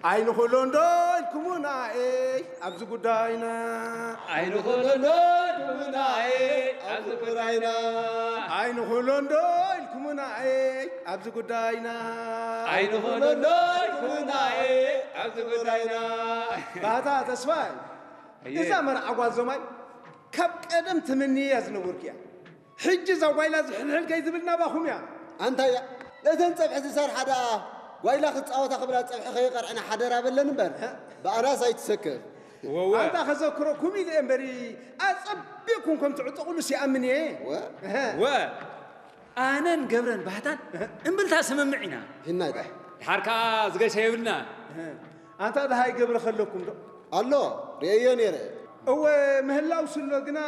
ኣይንኽእሎን ዶ ኢልኩምና፣ ኤይ፣ ኣብዚ ጉዳይና። ኣይንኽእሎን ዶ ኢልኩምና፣ ኤይ፣ ኣብዚ ጉዳይና። ኣይንኽእሎን ዶ ኢልኩምና፣ ኤይ፣ ኣብዚ ጉዳይና። ኣይንኽእሎን ዶ ኢልኩምና፣ ኤይ፣ ኣብዚ ጉዳይና። ባህታ ተስፋይ፣ እየ። እዛ መርዓ ጓል ዞማይ ካብ ቀደም ትምንያ ዝነበርኩ እያ። ሕጂ እዛ ጓይላ ዝሕልሕል ከይትብል ናባኹም እያ። ኣንታ እያ፣ ነተን ጸብሒ ዝሰርሓ ደኣ ጓይላ ክጻወታ ክብላ ጸብሒ ከይቐርዕና ሓደራ በለን እምበር፣ ብኣናስ ኣይትሰክፍ። ወወ። ኣንታ ከዘክረኩም ኢለ እምበሪ፣ ኣጸቢቕኩም ከም ትዕጠቑሉስ ይኣምን እየ። ወ? እሀ። ወ። ኣነን ገብረን ባህታን እምብልታ ስምምዕ ኢና። ሂናይ ዳ። ድሓር ከኣ ዝገሸ የብልና። እሀ። ኣንታ ደሃይ ገብረ ከለኩም ዶ? ኣሎ፣ ርእየዮ ነይረ። እወ፣ ምህላው ስሎ ግና